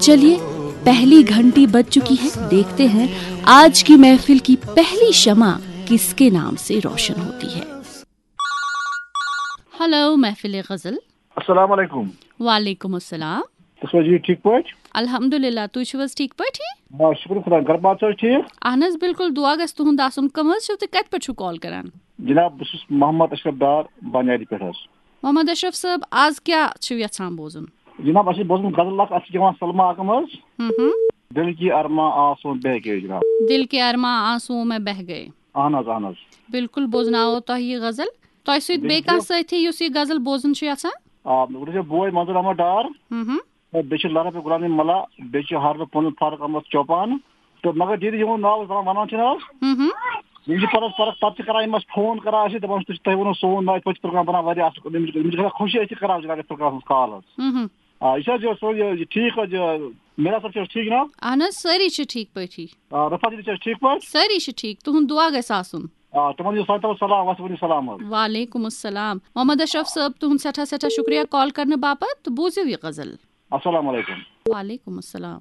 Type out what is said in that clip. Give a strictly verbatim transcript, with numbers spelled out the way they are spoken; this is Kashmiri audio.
चलिए, पहली घंटी बज चुकी है। देखते हैं आज की महफिल की पहली शमा किसके नाम से रोशन होती है। ہیلو محفل غزل۔ السلام علیکم۔ وعلیکم السلام۔ تُہۍ چھِو حظ ٹھیٖک پٲٹھۍ؟ الحمدللہ، تُہۍ چھِو حظ ٹھیٖک پٲٹھۍ؟ آ، شُکُر خۄدایَس، گَرٕ بار چھِ حظ ٹھیٖک؟ اہن حظ، بالکل، دُعا گژھِ تُہُنٛد آسُن۔ کٕم حظ چھِو تُہۍ، کَتہِ پٮ۪ٹھ چھِو کال کران؟ جِناب، بہٕ چھُس محمد اشرف ڈار، بانیاری پٮ۪ٹھ حظ۔ محمد اشرف صٲب، آز کیٛاہ چھِو یژھان بوزُن؟ جِناب، اَسہِ چھِ بوزمُت غزل اَکھ، اَتھ چھِ گٮ۪وان سلما اکم حظ۔ ہم ہم۔ دِل کی ارما آنسو بہ گئے جِناب۔ دِل کے ارما آنسو میں بہ گئے۔ اہن حظ، اہن حظ۔ بالکل، بوزناوو تۄہہِ یہِ غزل۔ تۄہہِ سۭتۍ بیٚیہِ کانٛہہ سٲتھی یُس یہِ غزل بوزُن چھُ یژھان؟ آ، مےٚ ووٚن، یہِ چھُ بوے منظور احمد ڈار۔ ہم ہم۔ بیٚیہِ چھِ لرف غلام ملا، بیٚیہِ چھِ حارث پنُن فاروق احمد چوپان۔ تہٕ مگر ییٚلہِ یِہُنٛد ناو أسۍ وَنان، وَنان چھِنہٕ حظ، ہم ہم۔ یِم چھِ پَتہٕ حظ فرق، پَتہٕ چھِ کَران یِم اَسہِ فون کَران، اَسہِ دَپان چھِ، تُہۍ، تۄہہِ ووٚنوُ سون ناو، یِتھ پٲٹھۍ چھِ پروگرام بَنان واریاہ اَصٕل پٲٹھۍ۔ یِم چھِ، یِم چھِ گژھان خوشی، أسۍ چھِ کَران حظ یہِ پروگرام کال حظ۔ ہم ہم۔ آ، یہِ چھِ حظ یہِ، سُہ، یہِ، یہِ ٹھیٖک حظ، یہِ میرا صٲب چھِ حظ ٹھیٖک جِناب؟ اہن حظ، سٲری چھِ ٹھیٖک پٲٹھی۔ آ، رفعت جی چھِ حظ ٹھیٖک پٲٹھۍ؟ سٲری چھِ ٹھیٖک، تُہُنٛد دُعا گژھِ آسُن۔ آ، تِمَن دِیِو سانہِ طرفہٕ سلام، وَسہِ ؤنِو سلام حظ۔ وعلیکم السلام۔ محمد اشرف صٲب، تُہُنٛد سٮ۪ٹھاہ سٮ۪ٹھاہ شُکریہ کال کرنہٕ باپتھ، تہٕ بوٗزِو یہِ غزل۔ السلام علیکم۔ وعلیکم السلام۔